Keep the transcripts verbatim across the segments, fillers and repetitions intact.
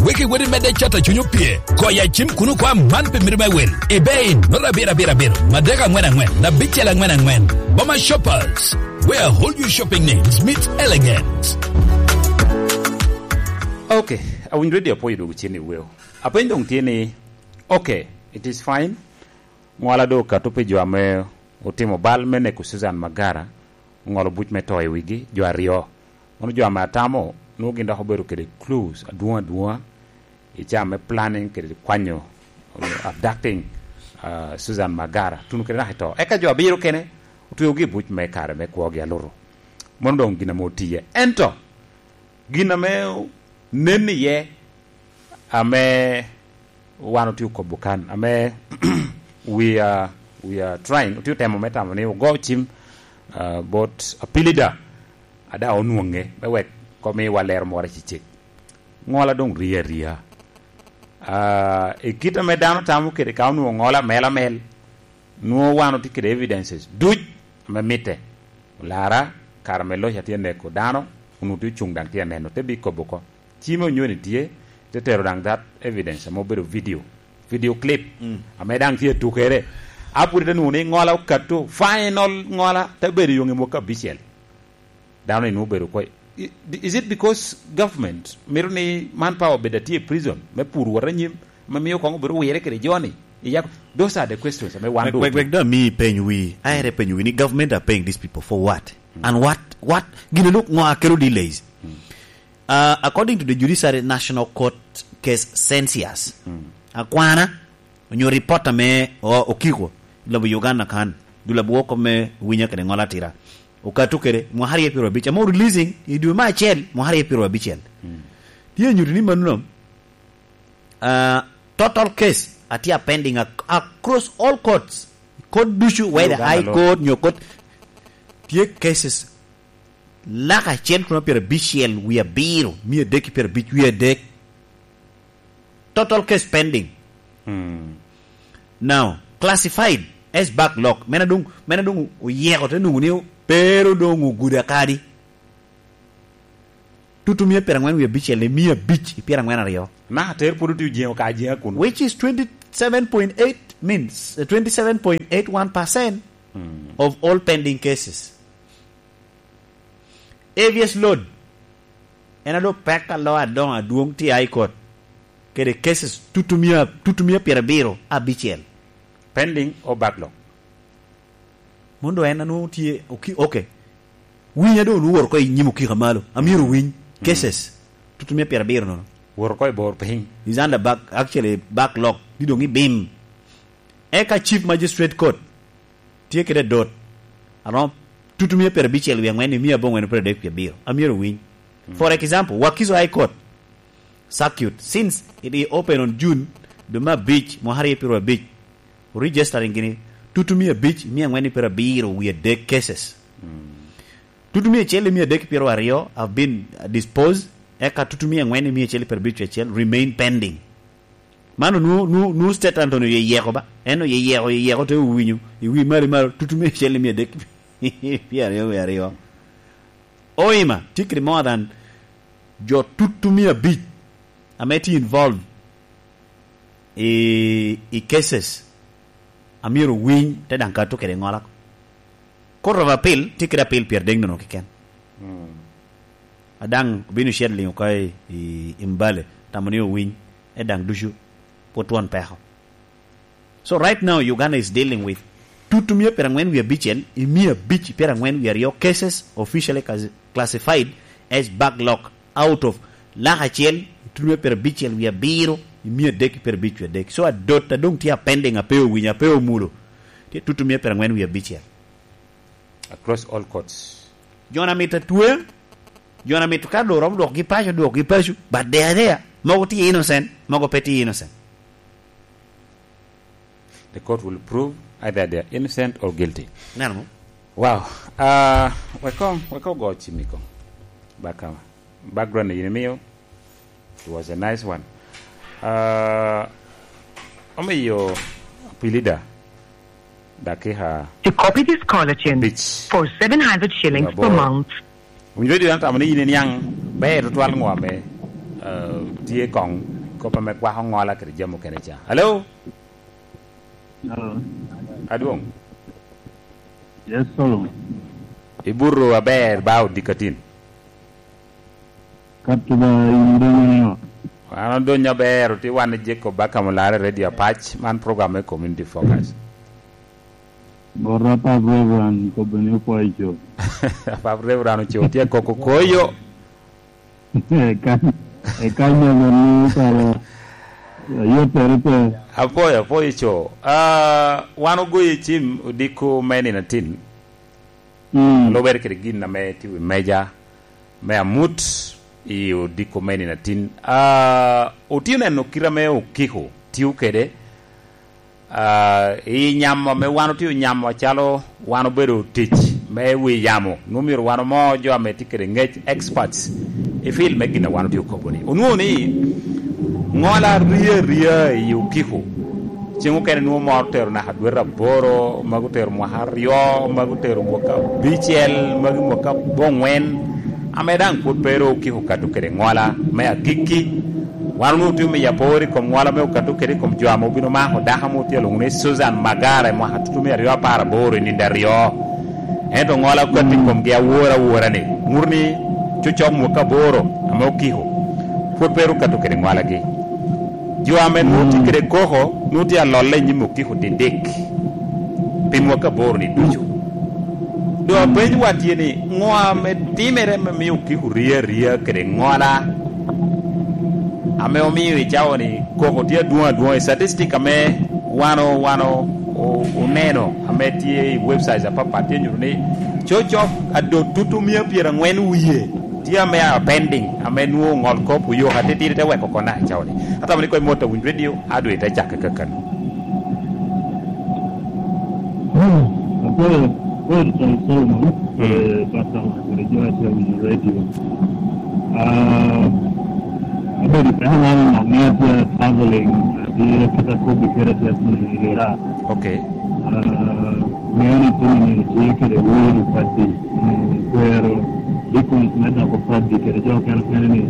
Wek iwot i medde cato cuny opye. Koya cim kuno kwa man pi miri me wil. Ibe in, nura abiro abiro abiro, madek angwen angwen, na bicel angwen angwen. Boma Shoppers, where whole you shopping needs meet elegance. Ok, awinyo redio apwoyo dwogo cen i weo. Apeny doŋ tye ni, ok, it is fine. Ŋola doŋ okato pi jo ame otimo bal me neko Susan Magara, oŋolo buc me to i wigi, jo aryo. Mano jo ame atamo, nwoŋo gin dok obedo kede clues adwoŋ adwoŋa i caa me planning kede kwanyo, abducting, ah, Susan Magara, tuno kede naka i to. Eka jo abiro kene otweogi i buc me kare me kwogi alutu. Mano doŋ gin ame otiye. Ento, gin ame nen iye, ame wan otye okobo kan, ame we are, we are trying, otye otemo me tamo ni ogo cim, ah, bot apilida, ada onwoŋe, me wek komiwa lero moro i cicek. Ŋola doŋ rie aria. Ah, i kit ame dano tamo kede ka onwoŋo ŋola mel amel, nwoŋo wan otye kede evidences duc ame mitte. Olara, kare ame loc atye neko dano, onwoŋo tye ocuŋ daŋ tye aneno, te bi kobo oko. Cime onyoni tye, te tero daŋ that evidence ame obedo video, video clip, ame daŋ tye atukere. A pwod ite nwoŋo ni ŋola okato, final ŋola, te bedo i yoŋe mwaka abicel. Dano ni nwoŋo obedo oko. I-, is it because government mito ni manpower obed atye i prison me pur wot anyim, ame mio koŋ obed owire kede joni? Iya, those are the questions ame wan Wek, doŋ wek, wek doŋ ami peny wi. Aere peny wi ni government are paying these people for what? And what, what, gin luk ŋo akelo delays? Uh, according to the Judiciary National Court case census, akwana, onyo report ame o-, okiko i lobo Uganda kan, dul abwoko me winya kede ŋola atira, okato kede mwaka aryo pyero abic, ame releasing i dwe me acel, mwaka aryo pyero abicel. Tye nyuto ni mano, uh, total case atye a pending ac-, across all courts. Court ducu, whether Uganda High Court, nyo court, tye cases lak acel kun pyero abicel wie abiro, mia adek ki pyero abic wie adek. Total case pending. Now, classified as backlog. Mena dong, mena dong oyeko te nungu ni pero dong oguda kadi. Tutu mia pyero angwen wie abicel ni mia abic i pyero angwen aryo. Na, ter pwod otye ojengo ka ajenga kuno. Which is twenty-seven point eight, means, uh, twenty-seven point eight one percent of all pending cases. Habeas load, en ado pek alo adoŋo adwoŋ tye i High Court, kede cases tutu mia, tutu mia pyero abiro abicel. Pending o backlog. Mondo en anwoŋo tye oki-, ok. Winya doŋ onwoŋo woro oko i nyim okika malo. Amyero winy. Cases. Tutu mia pyero abiro nono. Woro oko i bor piny. Is under back, actually backlog. Di doŋ i bim. Eka Chief Magistrate Court tye kede adot. Aromo tutu mia pyero abicel wie angwen i mia abongwen pyero adek wie abiro. Amyero winy. For example, Wakiso High Court circuit, since it is open on June, dwe me abic, mwaka aryo pyero abic, registering gini, tutu mia abic, mia angwen pyero abiro wie adek cases. Tutu mia acel i mia adek pyero aryo have been disposed, eka tutu mia angwen i mia acel pyero abic acel remain pending. Mano nu, nu, nu State Attorney oyeyeko ba. En oyeyeko, oyeyeko te owinyo. I wi malo, malo, tutu mia acel i mia adek pyero aryo wie aryo. Oima, tye kede more than jo tutu mia abic ame tye involved i, i cases a myero owiny, te daŋ kato kede ŋola. Court of Appeal tye kede appeal pyero adek nono keken. A daŋ obino cito liŋo oko i, i, i Mbale, tamo ni owiny, e daŋ ducu pwod twon peko. So right now, Uganda is dealing with tutu mia pyero angwen wie abicel i mia abic pyero angwen wie aryo cases officially class-, classified as backlog out of lak acel, tutu mia pyero abicel wie abiro i mia adek pyero abic wie adek. So adot a doŋ tye a pending, a pe owinyo, a pe omulo, tye tutu mia pyero angwen wie abicel. Across all courts. Jo na mito atwe, jo na mito ka dong romo dwokgi paco, dwokgi paco, but they are there. Mogo tye innocent, mogo pe tye innocent. The court will prove either they are innocent or guilty. Neno mo? Wow. Ah, weko, weko go chimiko. Bakama. Background ni yini miyo. It was a nice one. Ah, omiyo pilida dakika To copy this caller tune beach for seven hundred shillings per month. Winjo di tamo ni yini niang ber twal ngwa me, ah, tye kong kop ame kwako ŋola kede jami okene ca. Hello? Hello? Adwoŋ? Yes, Solomon. Ibuto aber ba odikatin? Kato ba in doŋ ni ot. An odonyo aber, otye wan i Jacob Bakam Olare Radio Apac, man program me Community Focus. Bot Apap Reverend kobbe ni opwoyo co. Apap Reverend oco tye koko koyo. Eka, eka nyomo ni kara ayottere pe. Apwoyo, apwoyo co. Ah, wan ogoyo cim odiko me nino atin. Mm. Lubere kede gin ame tye wi meja me amut i odiko me nino atin. Ah, otye neno kite ame okiko tio kede. Ah, i nyamo ame wan otye onyamo acalo wan obedo tic me wi yamo, nwoŋo myero wan omo jo ame tye kede ŋec, experts, i field me gin a wan otye okobo-ni. Onwoŋo ni ŋola rie aria i okiko. Ceng okene nwoŋo moro otero naka dwete aboro, magi otero mwaka aryo, magi otero mwaka abicel, magi mwaka aboŋwen. Ame daŋ pwod pe ru okiko okato kede ŋola me agikki. Wan onwoŋo otye omiyo apor i kom ŋola me okato kede i kom jo ame obino mako dako ame otye alwoŋo ni Susan Magara i mwaka tutumia aryo apar aboro i nino aryo. Ento ŋola okato i komgi awor awora-ni, ŋuto ni cocok mwaka aboro ame okiko, pwod pe ru okato kede ŋolagi. Jo ame nwoŋo tye kede koko, nwoŋo tye alolle i nyim okiko didik pi mwaka aboro-ni ducu. Doŋ apenywa tye ni, ŋo ame timere ame mio okiko rie aria kede ŋola ame omio i cawa-ni koko tye adwoŋ adwoŋ? I statistic ame wan o-, wan o-, o-, oneno, ame tye i websites apapat, tye nyuto ni cocok adot tutumia pyeraŋwen wie tye ame a pending, ame nwoŋo ŋol kop oyoko atitidi te weko kona i cawa-ni. Atamo ni koŋ imot awiny radio, adwe te cakke kakano. Hmm, apwoyo, apwoyo Tony Solomon, mm, kede Pastor Mark, kede jo a tye awinyo radio. Ah, abedo i peko man i nino ni atye traveling, atye kit akobbi kede atye atye i Iraq. Ok. Ah, ŋeo ni tye nino tye kede welo paddi, mm, kwero deacons me doko paddi kede jo okene okene ni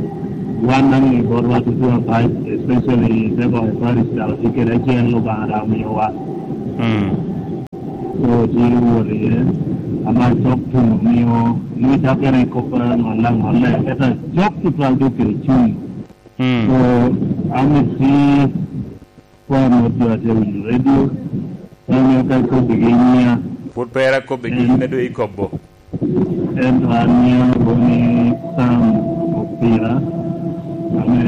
wan daŋ i botwa tutu apac, especially te boko parish daŋ tye kede acel Lubanga daŋ omiyowa. Mm. So, tye wot iye, ama cok tuno mio, mio cakkere i kop a ŋolle aŋolle, ento cok tutwal dok kede cuny. Mm. So, an i ti, kwa mot jo a tye winyo radio, mio ka ikobbigi i nyia. Pwod pe ira kobbigi, in a doŋ ikobo. Ento an mio aboni Sam Opira, ame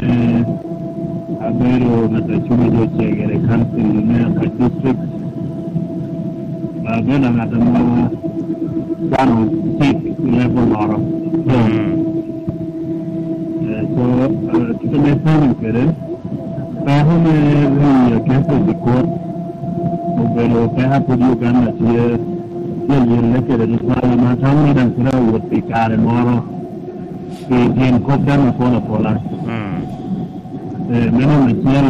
abedo ŋat a cuŋ i jo cegere i council me Apac District. Abedo ŋat ame kwano cik i level loro. Mm. Eh, so, eh, kit ame penyo kede, peko me riyo cases i kot obedo peko a pwod Uganda tye, tye alyelle kede tutwal, ame atamo ni daŋ twero wot pi kare moro pi tyen kop daŋ apol apola. Mm. Eh, me namba acel,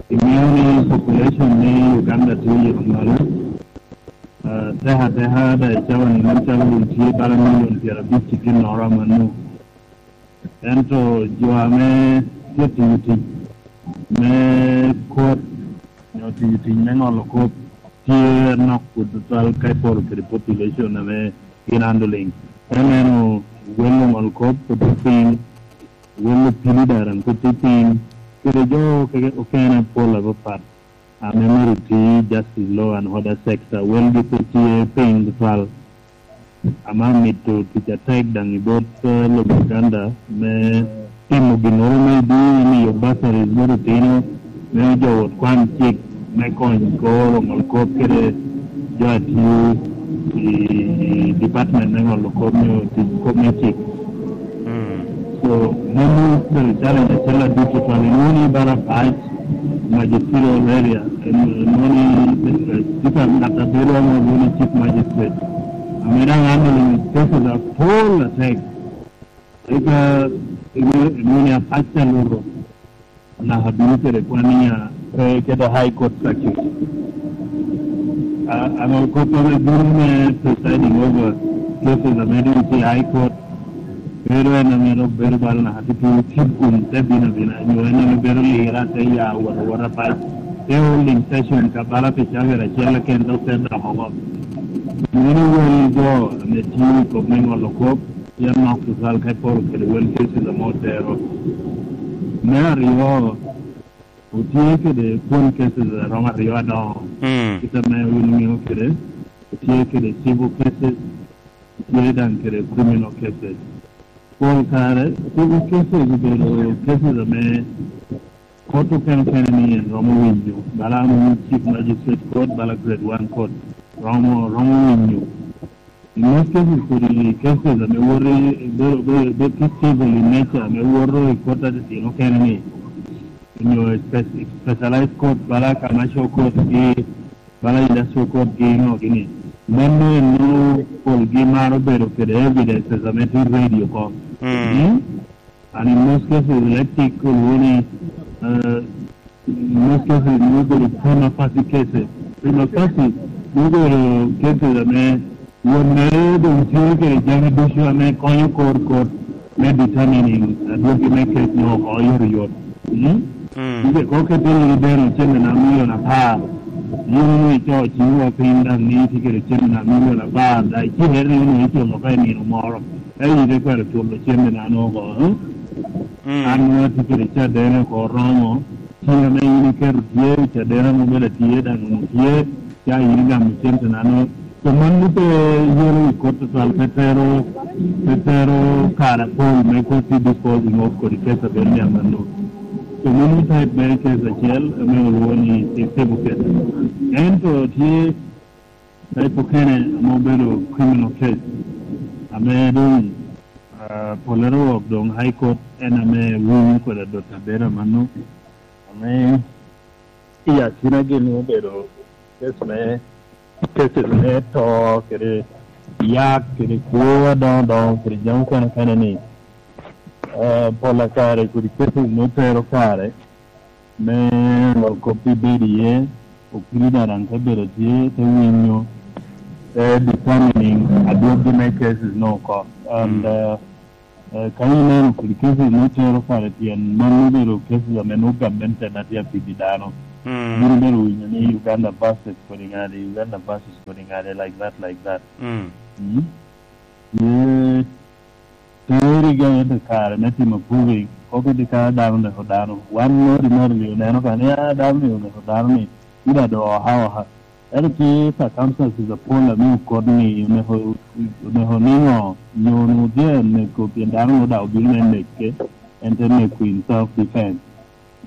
iŋeo ni population me Uganda tye oyito malo. Eh, teka teka daŋ i cawa-ni nen calo tye bala milion pyerabic i ginnoro amanno. Ento jo ame tye tiyo tic me kot, nyo tiyo tic me ŋolo kop, tye anok kuto tutwal ka iporo kede population ame gin handling. Ka ineno wel oŋol kop pwod tye piny, wel opili daŋ pwod tye piny, kede jo keke okene apol apapat ame myero oti justice, law and order sector, welgi pwod tye piny tutwal. Ame amito tic atek daŋ i bot, eh, lobo Uganda me timo ginnoro me dini, miyo bursaries bot otino, me jo wot kwan cik me kony kor oŋol kop kede jo a tio i department me ŋolo kop nyo tic kop me cik. Mm. So, mano obedo challenge acel aduc tutwal. Inwoŋo ni bala Apac, magisterial area, inwoŋo ni, eh, tye ka ŋat a bedo ame olwoŋo ni chief magistrate, ame daŋ handling cases apol atek. Eka inwoŋo, inwoŋo ni Apac te luto, naka bino kede kwan ni, ah, pe keto High Court Circuit. Ah, aŋol kop ame bino me presiding over cases ame dong tye i High Court, bedo en ame dok bedo bala naka tutu tye kun te bino abina, nyo en ame bedo lira, te ya wot awota pac, te holding session ka bala pi cakere acel keken dok te dok oko. Meno wel jo ame tye i kop me ŋolo kop, pien nok tutwal ka iporo kede wel cases ame otero. Me aryo, otye kede kwon cases a romo aryo adongo. Mm. Kit ame wun iŋeo kede, otye kede civil cases, otye daŋ kede criminal cases. Pol kare, civil cases obedo cases ame kot okene okene ni en romo winyo, bala ame Chief Magistrate Court, bala Grade One Court, romo, romo winyo. In most cases, kodi cases ame woto i, bedo, bedo, bedo tye civil in nature, ame woto i kot atitino okene ni, onyo spe-, specialized court, bala commercial court gi, bala industrial court gi, no, gini. Mano en nwoŋo polgi maro bedo kede evidences ame tye ready oko. Mm. Mm? And in most cases, electric, kodi woni, uh, in most cases, nwoŋo bedo prima facie cases. Prima facie, nwoŋo bedo cases ame won mere doŋ tye kede jami ducu ame konyo kor, kor me determining, uh, adwogi me case no oko oyotoyot. Mm? Mm. Nikech kok kete iri bene cente na milion apar, yin onwoŋo ico ciŋwa piny daŋ ni itye kede cente na milion apar, daŋ icikere ni onwoŋo iculo ka i nino moro, ka in ite kwero culo cente na no oko, eh? Mm. An nwoŋo atye kede cadene oko oromo, tye ame in iketo tye, cadene mo bene tye, daŋ onwoŋo tye, ca in igamo cente na no. So mano pe yero i kot tutwal, pe tero, pe tero kare apol me kot i disposing of kodi case a bedo ni amanno. So mano type me case acel ame olwoŋo ni civil case. Ento tye type okene ame obedo criminal case, ame doŋ, ah, polere wok doŋ High Court en ame winyo kodi adot abedo amanno, ame i akinagi nwoŋo obedo case me, cases me to, kede yak, kede kwo adoŋo doŋo, kede jami okene okene ni, eh, pol a kare kodi cases me tero kare me ŋolo kop pi bedo iye, okili daŋ daŋ te bedo tye, te winyo, te determining adwoggi me cases no oko. And, mm, eh, Eh, ka ineno kodi cases me tero kare, pien mano obedo cases ame nwoŋo gamente ame tye apidi dano. Mm. Bino bene winyo ni Uganda versus kodi ŋadi, Uganda versus kodi ŋadi, like that, like that. Mm. Mm. Ye teri ga ente kare me timo proving, kok iti ka dano oneko dano. Wan ordinarily oneno ka ni, ah, dano ni oneko dano ni, ida do oha oha. Ento tye circumstances apol ame okot ni oneko, oneko niŋo, nyo onwoŋo tye aneko pien dano onwoŋo daŋ obino me neke, en te neko in self defense.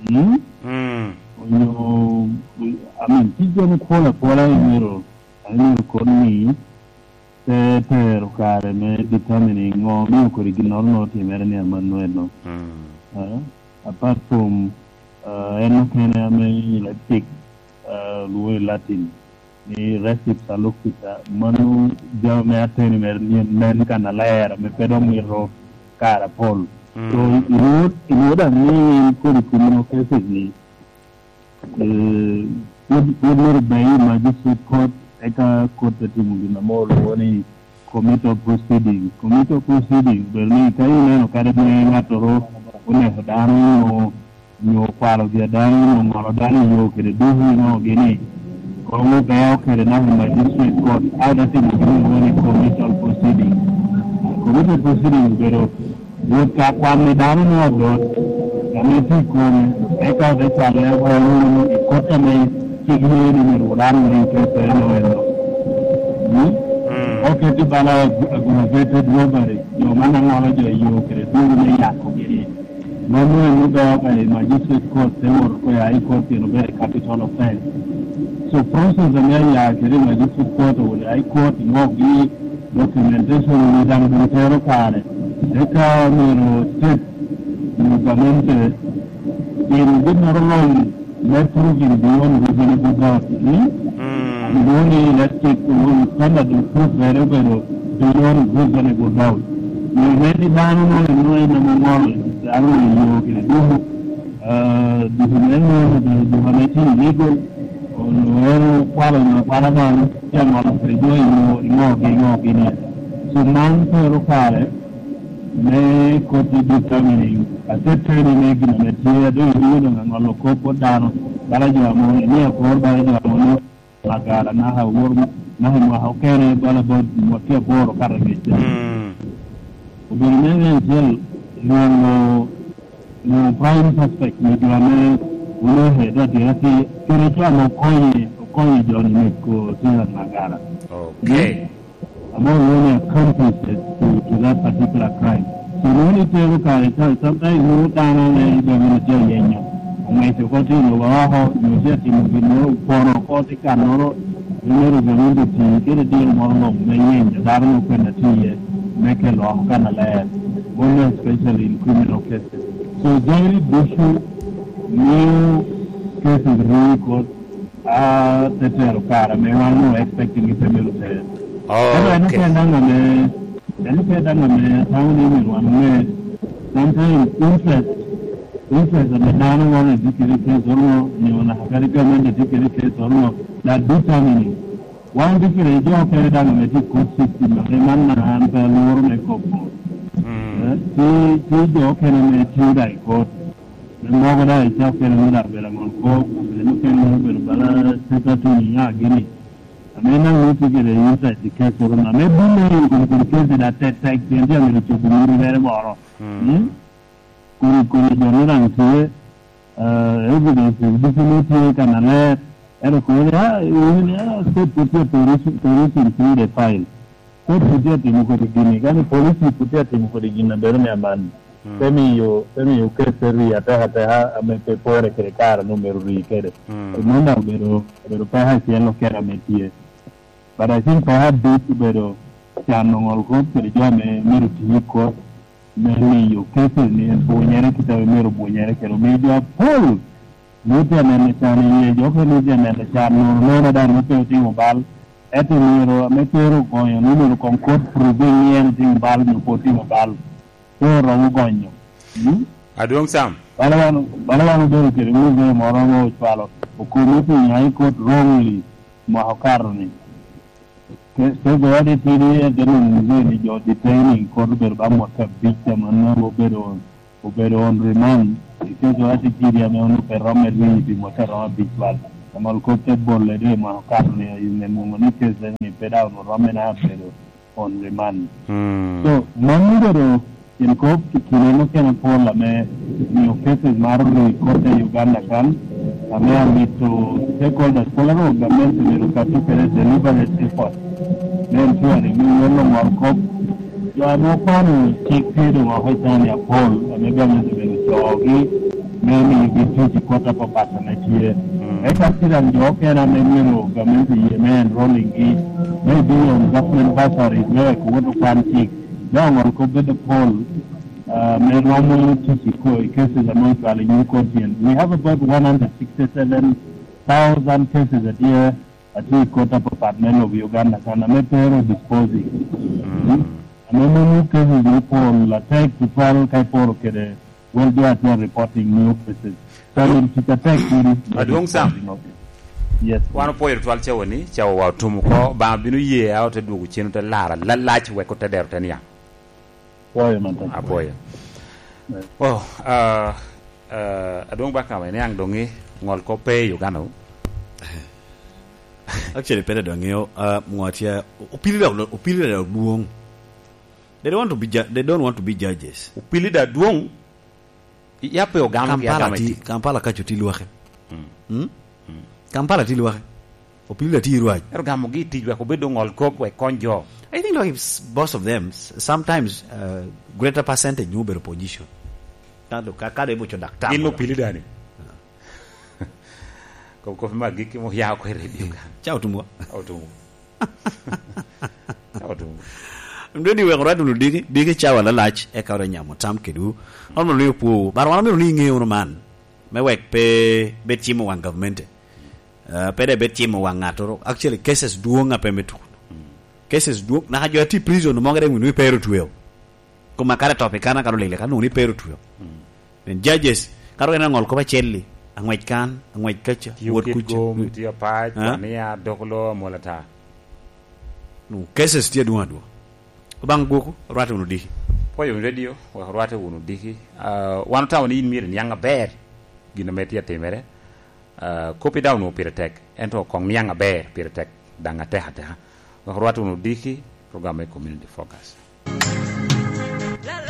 Mm? Mm. Onyo, I mean, tye jami pol apola imito, imito kot ni te tero kare me determining ŋo omio kodi ginnoro nwoŋo otimere ni amanno eno. Mm. Eh, apart from, eh, en okene ame i Leipzig, eh, lwoŋo i Latin ni res ipsa loquitur, mano jami me ateni mere ni en nen kannaler, ame pe dok mito kare apol. Mm. So, inwoŋo, inwoŋo daŋ ni in kodi criminal cases ni, eh, pwod, pwod myero bed i magistrate court, eka court te timo gin ame olwoŋo ni committal proceeding. Committal proceeding, bed ni ka ineno kadi ni ŋattoro oneko dano, nyo, nyo okwalo gi dano, nyo oŋolo dano i yo kede ducu i ŋo gini, koŋ obeo kede naka i magistrate court, a ote timo gin olwoŋo ni committal proceeding. Committal proceeding obedo wot ka kwanni dano me adot ame tye i kome, eka ote cwale wunu i kot ame cik ye ni myero dano olim kede eno eno. Mm? Mm. Oketi bala ag-, aggravated robbery, jo man aŋolo jo i yo kede duru me yako gini. Mano en odoŋo ka i magistrate court, te wot oko i High Court, pien obedo i capital offense. So process ame aya kede i magistrate court, owoto i High Court, inwokgi documentation ni daŋ doŋ tero kare. Eka myero tek nyo gamente timo ginnoro lony me proving beyond reasonable doubt, ni, mm, lwongo ni electric, lwongo ni standard of proof mere obedo beyond reasonable doubt. Nyo me ni dano mo eno en ame ŋolo dano i yo kede ducu, ah, ducu me ŋolo obedo ducu ame tye illegal, onyo en okwalo nyo akwala man, tye aŋolo kede jo i yo, i ŋo gi ŋo gini. So man tero kare, me koti determining ateteni me gin ame tye, a doŋ iwinyo doŋ aŋolo kop bot dano, bala jo amo ni akor, bala jo amo ni Magara, naka wor, naka i mwaka okene, bala bot mwaka aboro kato angec. Mm. Obedo me me acel, nwoŋo, nwoŋo prime suspect me jo ame wun ohe dot dira ti, kede jo ame okonye, okonye jo ni neko Cesar Magara. Okay. Ame olwoŋo ni accomplices to, to that particular crime. So, nwoŋo ni tero kare ca, sometimes nwoŋo dano ame gamente tye ayenyo, oŋeco oko tye lobo oko, nyo tye atimo gin moro, opono oko tye kannoro, nyo myero gamente oti kede diro moro luŋ me yenyo dano me kwena tye iye, me kelo oko kannaler, most especially in criminal cases. So, jami ducu mio cases rii kot, a, te tero kare ame wan onwoŋo expecting ni pe myero ter. Oh, ento en okay. Oken daŋ ame, en oken daŋ ame atamo ni myero wan oŋe. Sometimes interest, interest ame dano ŋolo i dikiri case oro, nyo naka kadi government i dikiri case oro, that determining. Wan dikiri jo okene daŋ ame tye i court system, ame man na an pe alworo me kobo. Mm. Eh, tye, tye jo okene ame tye daŋ i court. Me mogo daŋ icak kede me lak bela ŋol kop, kede mukene obedo bala teta tuni ya gini. Ame naŋ ni tye kede inside the case oro na. Me bino i kom kede case da tek tek, pien tye amito cobo muru mere moro. Mm. Mm? Kodi, kodi jo ni daŋ tye, eh, evidence ducu ni tye kannaler. Ento kono ni, ah, iwinyo ni, ah, state pwod tye a perusing, perusing through the file. Kodi pwod tye atimo kodi gini, kadi police pwod tye atimo kodi gin a bedo ni aman. Mm. Te miyo, te miyo case te ri ateka ateka ame pe pore kede kare onwoŋo myero ri kede. Mm. Mano daŋ obedo, obedo peko acel okene ame tye. But I think peko aduc obedo cano ŋol kop kede jo ame myero oti i kot me miyo cases ni bunyere kit ame myero bunyere kede. Omiyo jo apol nwoŋo tye aneno can iye, jo okene nwoŋo tye aneno can, nono nono daŋ nwoŋo pe otimo bal. Ento myero ame tero ogonyo ni myero koŋ kot proving ni en otimo bal nyo pe otimo bal. Pe oromo gonyo. Mm? Adwoŋ Sam. Bala wan, bala wan obedo kede muzee moro ame ocwalo okomo pi nyaŋ i kot wrongly mwaka okato ni. Ke, ke goya di tidi en te nwoŋo muzee ni jo detaining kot obedo ba mwaka abic, amannono obedo obedo on remand i case oro atitidi ame onwoŋo pe romo me rii pi mwaka romo abic bal. Aŋol kop te bolle dwe mwaka okato ni oyume mwoŋo ni case ni pe daŋ onwoŋo romo me na bedo on remand. Hmm. So, mano obedo in kop i kine mukene apol ame mio cases maro rii kop i Uganda kan, ame amito stakeholders, federal government obedo ka tuko kede deliberate effort me ensuring ni won oŋol kop Jo ame okwano cik tye doŋ oko i county apol ame gamente obedo coogi me miyogi tic i kota papat ame tye. Mm. Eka tye daŋ jo okene ame myero gamente ye me enrolling-gi, maybe on government bursaries, me wek owot okwan cik, me oŋol kop bedo pol, ah, me romo tic i ko-, i cases ame ocwalo i nyim court tyen. We have about one hundred sixty-seven thousand cases a year atye i kota papat me lobo i Uganda kan, ame pe ro disposing. Mm. Ame mano cases me pol atek tutwal ka iporo kede wel jo atye reporting new cases. So, tic atek kodi. Adwoŋ Sam. Yes. Wan opwoyo tutwal cawa ni, cawa wa otum oko, Obaŋa bino ye a ote dwogo cen, ote laro alalac wek ote dero te niaŋ. Apwoyo matek. Apwoyo. Yes. Oh, ah, ah, Adwoŋ Bakama, iniaŋ doŋ i ŋol kop pe i Uganda wu? Actually, pe doŋ ŋeo, ah, ŋo tye, opili dok, opili dok dwoŋ. They don't want to be ju-, they don't want to be judges. Opili dok dwoŋ. Ya pe ogamo gi Kampala agama ti, i tic. Kampala kaco ti lwake. Mm. Mm? Mm. Kampala ti lwake. Opili ti rwac. Ero gamogi i tic wek obed oŋol kop wek kony jo. I think, like, s-, most of them, s-, sometimes, uh, greater percentage nyo obedo opposition. Ka do, ka, ka do ibuco daktar. Gin opili dani. Kop, kop ma gik mo ya ko i radio kan. Ca otumwa. Otumwa. Otum. Mdwe ni wek orwat wunu diki, diki cawa lalac, eka ore nyamo tam kedwu. Wan omio ni opwowu. Bar wan omio ni iŋe wunu man. Me wek pe bed cimo waŋ gavmente. Eh, pe de bed cimo waŋ ŋattoro. Actually, cases dwoŋ a pe me tuko. Cases dwoŋ, naka jo a tye i prison mogo de wunu i pero tweo. Koma kare top i kana, kare olele, kare nwoŋo ni pe ru tweo. Mm. Then judges, kare en aŋol kop acel-li, aŋwec kan, aŋwec kaca, wot kuca. Tiyo kit gom, tiyo pac, ah? Wania, dok lo, amol ata. Nu, cases tye adwoŋ adwoŋ. Obaŋ gwoko, rwate wunu diki. Pwoyo wunu redio, wek orwatte wunu odiki. Ah, wan otamo ni yin myero iniaŋ aber gin ame tye atimere. Ah, koppi daŋ onwoŋo pire tek, ento koŋ niaŋ aber pire tek, daŋ atek ateka. Wek orwatte wunu odiki, program me Community Focus.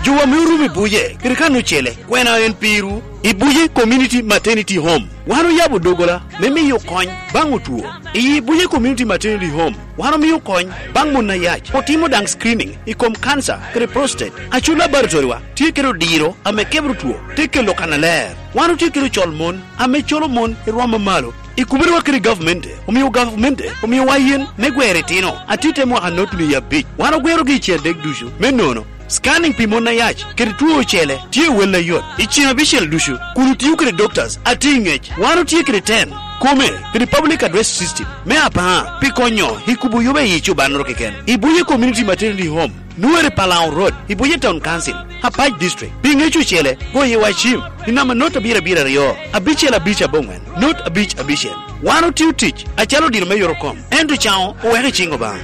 Jo ame orumo i buce, kede kan ocele, kwena en pirwu? I buce Community Maternity Home, wan oyabo doggola me miyo kony baŋ otwo. I buce Community Maternity Home, wan omio kony baŋ mon ayac, otimo daŋ screening i kom cancer kede prostate. Aco laboratory wa tye kede odiro ame kebro two, te kelo kannaler. Wan otye kede ocol mon ame colo mon i rwom amalo. I kubedo wa kede gavmente, omio gavamente omiowa yen me gwero itino atit te mwaka notni abic. Wan ogwerogi i cen dek ducu. Me nono, scanning pi mon ayac kede two ocele tye wel ayot i cen abicel ducu, kun otio kede doctors atye i ngec. Wan otye kede ten kome kede public address system me apar pi konyo i kubo yoba i cobannoro keken. I Buye Community Maternity Home, Nuere Palau Road, i Buye Town Council, Apac District. Pi ŋec ocele, goye wa cim i namba not abiro abiro aryo, abicel abic aboŋwen, not abic abicel. Wan otio tic acalo odiro me yot okom, ento caŋo oweko i ciŋ Obaŋa.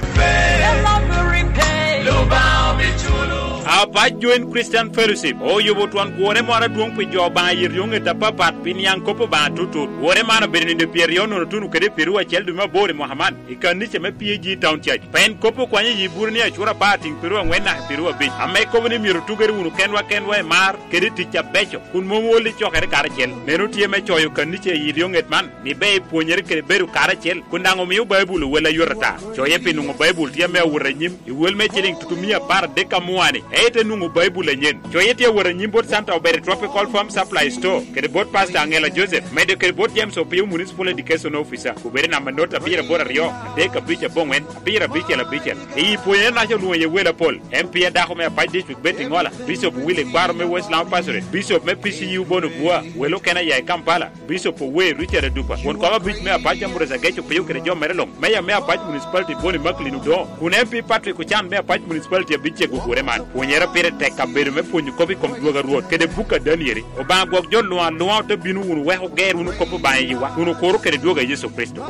Apac Joint Christian Fellowship oyubo twon gure moro adwoŋ pi jo Obaŋa i ryoŋet apapat pi niaŋ kop Obaŋa tutut. Gure man obedo nino pyeraryo nono tuno kede pyeraryo acel dwe me aboro i mwaka man i kanica me P A G Town Church. Pien kop okwanyo i Iburu ni acura apar tiŋ pyeraryo aŋwen naka pyeraryo abic, ame kobo ni myero otugere wunu kenwa kenwa i mar kede i tic abeco, kun mom ool i cokere karacel. Meno tye me coyo kanica i ryoŋet man, ni ber ipwonyere kede bedo karacel, kun daŋ omio Baibul owel ayot ata. Coye pi nwoŋo Baibul tye ame awot anyim i wel me ciliŋ tutumia apar adek amua-ni, ento enwoŋo Baibul anyen. Coye tye awot anyim bot Santa Obere Tropical Farm Supply Store, kede bot Pastor Angela Joseph, medo kede bot James Opio Municipal Education Officer, obedo i namba not abiro aboro aryo, adek abic aboŋwen, abiro abicel abicel. I pwonyere naca olwoŋo iye wel apol, M P adako me Apac District Betty Ŋola, Bishop Willy Kwaro me West Lamu Pastorate, Bishop me P C U Bono Bua, wel okene aya i Kampala, Bishop Owe Richard Adupa, won kom abic me Apac Ambrose Ageco Opio kede jo mere luŋ, Meya me Apac Municipality Bonnie Macklin Odongo, kun M P Patrick Ocan me Apac Municipality abic cego gure man. Pwonyere pire tek kabedo me pwonyo kop i kom dwogo a Rwot kede buk a Danieli. Obaŋa gwok jo luŋ aluŋa ote bino wunu wek oger wunu kop Obaŋa i yiwa, kun okuro kede dwogo a Yecu Kricito.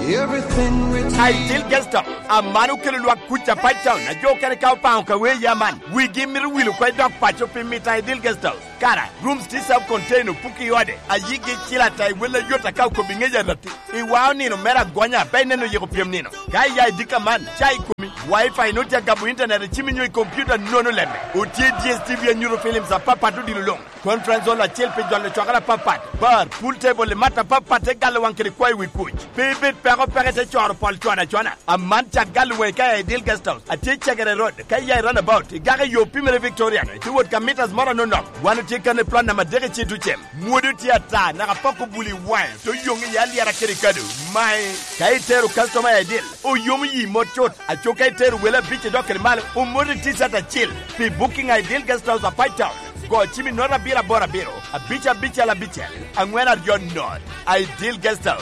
Ideal Guest House, aman okelo lwak kuc Apac Town, a jo okene ka opaŋo ka wee ya man, wigi mito wil oko i dog paco pi mito Ideal Guest House. Kara, rooms tye self contained, opuki i ode, a yigi icilo ata i wel ayot aka okobo i ŋec aratti. Iwao nino mere agonya, pe ineno yiko pyem nino. Ka iya i dika man, ca i komi, Wi-Fi nwoŋo tye agamo internet i cimi nyo i computer nono lemme. Otye D S T V anyuto films apapat odilo luŋ. Conference hall acel pi jolo cwakere apapat, bar, pool table, i mat apapat te galo waŋ kede kwayo wi kuc. Pe ibed peko peko ite coro pol cwano acwana. Aman cak galo waŋi ka i Ideal Guest House, atye i Cegere Road, ka iya i roundabout, igako i yo pimere Victorian, ite wot ka meters moro anonok. Wan otye kan i plot namba adek i Citucem. Mwodi otye ata, naka pok obuli i waŋe, te oyoŋ iye alyera kede kado. Mae, ka itero customer i Ideal, oyomo yi mot cut. Aco ka itero wele abic idok kede malo, omoti T-shirt acil. Pi booking a Ideal Guest House Apac Town, go cim i not abiro aboro abiro, abic abicel abicel, aŋwen aryo not. Ideal Guest House.